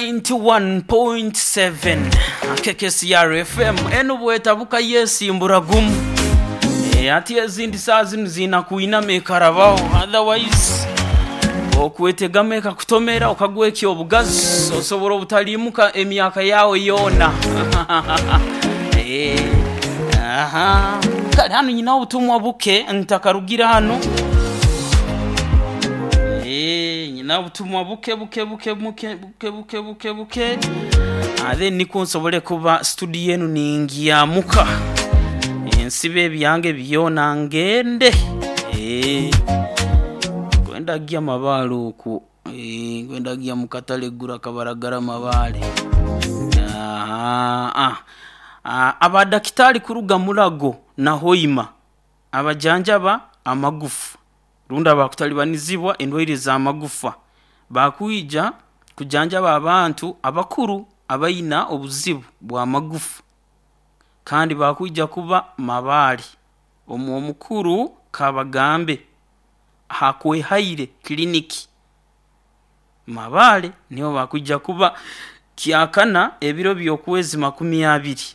91.7 KKCR FM enu bwetabuka yesimbura gumu. Ati ezindi saa zinu ziina kwinama ekarabaho, otherwise okwetegama ekakutomera okagwekya obugazi, osobora obutaliimuka emyaka yawe yoona. Aha. Kale hanu nyinaho obutumwa buke ntakarugira hanu. Nyina obutumwa buke buke buke buke buke buke buke buke. Then nikwo nsobole kuba studio enu ningyamuka. Nsibe ebyange byona ngende. Kwenda gya mabaale okwo. Kwenda gya mu katale gura kabaragara mabaale. Aha. Abadakitari kuruga Mulago na Hoima abajanjaba amagufa rundi abakutalibanizibwa endwaire z'amagufa bakwija kujanjaba abantu abakuru abaina obuzibu bw'amagufa, kandi bakwija kuba Mabaale omu omukuru Kabagambe Hakwehaire Clinic Mabaale niho bakwija kuba kyakana ebiro by'okwezi 20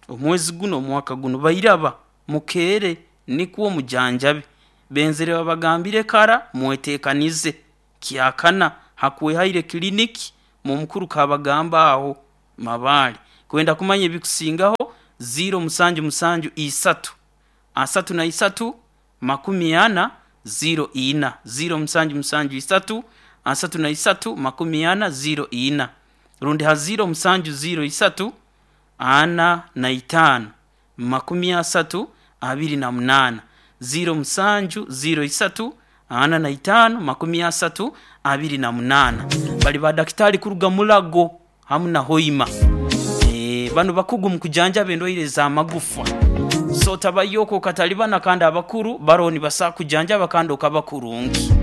omwezi guno omwaka guno. Bairaba mukeere nikwo mujanjabe, benzere babagambire kara mweteekanize kyakana Hakwehaire Clinic mu mukuru Kabagamba aho Mabaale. Kwenda kumanya ebikusingaho 0773 33 40 04, 0773 33 40 04, rundi ha 0703 45 30 28, 0703 45 30 28. Bali badakitari kuruga Mulago hamu na Hoima. Banu bakugu mu kujanjaba endwaire z'amagufa, so tabayoko katalibana kandi abakuru baroho nibasaa kujanjaba kandi okaba kurungi.